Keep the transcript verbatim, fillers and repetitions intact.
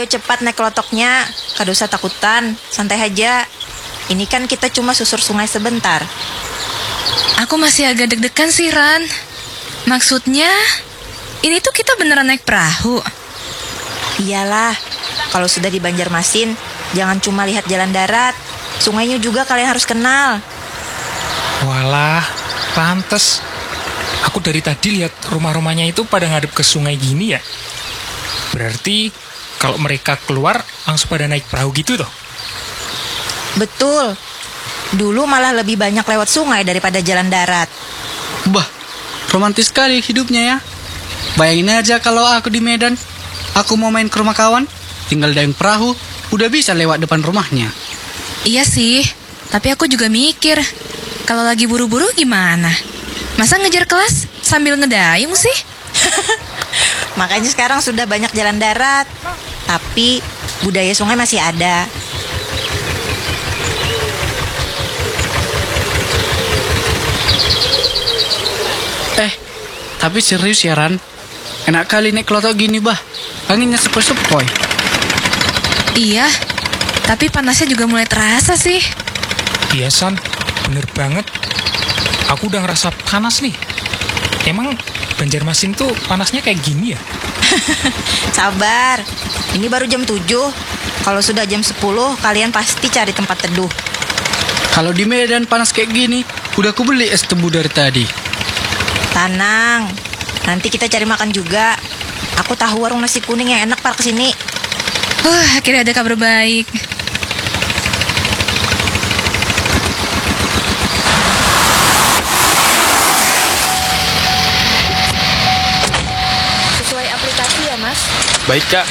Cepat naik kelotoknya, kada usah takutan, santai haja. Ini kan kita cuma susur sungai sebentar. Aku masih agak deg-degan sih, Ran. Maksudnya, ini tuh kita beneran naik perahu. Iyalah, kalau sudah di Banjarmasin, jangan cuma lihat jalan darat. Sungainya juga kalian harus kenal. Walah, pantes. Aku dari tadi lihat rumah-rumahnya itu pada ngadep ke sungai gini ya. Berarti kalau mereka keluar langsung pada naik perahu gitu toh? Betul. Dulu malah lebih banyak lewat sungai daripada jalan darat. Bah, romantis sekali hidupnya ya. Bayangin aja kalau aku di Medan, aku mau main ke rumah kawan, tinggal dayung perahu, udah bisa lewat depan rumahnya. Iya sih, tapi aku juga mikir, kalau lagi buru-buru gimana? Masa ngejar kelas sambil ngedayung sih? Makanya sekarang sudah banyak jalan darat. Tapi budaya sungai masih ada. Eh, tapi serius ya Ran. Enak kali naik kelotok gini bah. Anginnya sepoi-sepoi. Iya, tapi panasnya juga mulai terasa sih. Iya San, bener banget. Aku udah ngerasa panas nih. Emang Banjarmasin tuh panasnya kayak gini ya? Sabar, ini baru jam tujuh. Kalau sudah jam sepuluh, kalian pasti cari tempat teduh. Kalau di Medan panas kayak gini, udah aku beli es tebu dari tadi. Tenang, nanti kita cari makan juga. Aku tahu warung nasi kuning yang enak parkir sini. Huh, akhirnya ada kabar baik. Sesuai aplikasi ya, Mas. Baik kak,